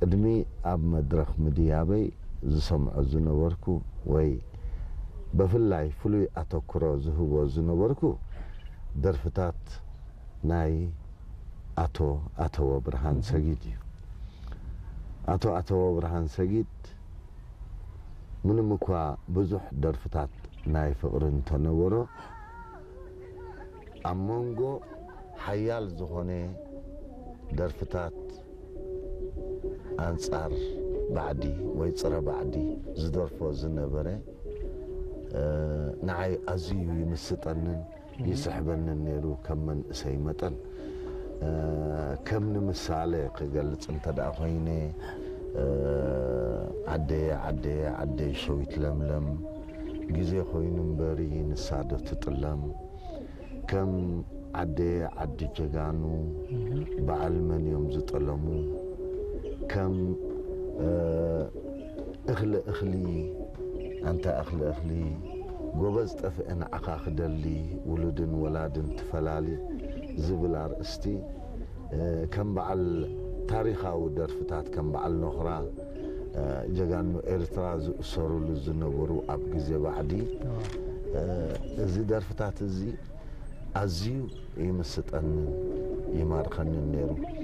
ቅድሚ ኣብ መድረኽ ምድያበይ ዝሰምዖ ዝነበርኩ ወይ ብፍላይ ፍሉይ ኣተኩሮ ዝህቦ ዝነበርኩ ደርፍታት ናይ ኣቶ ኣተወ ብርሃን ሰጊድ እዩ። ኣቶ ኣተወ ብርሃን ሰጊድ ምንም እኳ ብዙሕ ደርፍታት ናይ ፍቕሪ እንተነበሮ፣ ኣብ መንጎ ሓያል ዝኾነ ደርፍታት ኣንጻር ባዕዲ ወይ ጽረ ባዕዲ ዝደርፎ ዝነበረ፣ እ፣ ንዓይ ኣዝዩ ይምስጠንን ይስሕበንን ነይሩ። ከም መንእሰይ መጠን፣ እ፣ ከም ንምሳሌ ክገልጽ እንተ ደኣ ኮይነ፣ እ፣ ዓደየ ዓደየ ዓደይ ሸዊት ለምለም፣ ግዜ ኮይኑ እምበሪ ንሳ ዶ ትጥለም፣ ከም ዓደየ ዓዲ ጀጋኑ፣ በዓል መን እዮም ዝጠለሙ፣ ከም፣ እ፣ እኽሊ እኽሊ፣ ኣንታ እኽሊ እኽሊ፣ ጎበዝ ጠፍአ ንዓኻ ክደሊ፣ ውሉድን ወላድን ትፈላሊ ዝብል ኣርእስቲ፣ እ፣ ከም በዓል ታሪኻዊ ደርፍታት ከም በዓል ኖኽራ፣ እ፣ ጀጋኑ ኤርትራ ዝእሰሩሉ ዝነበሩ ኣብ ግዜ ባዕዲ፣ እ፣ እዚ ደርፍታት እዚ ኣዝዩ ይምስጠንን ይማርከንን ነይሩ።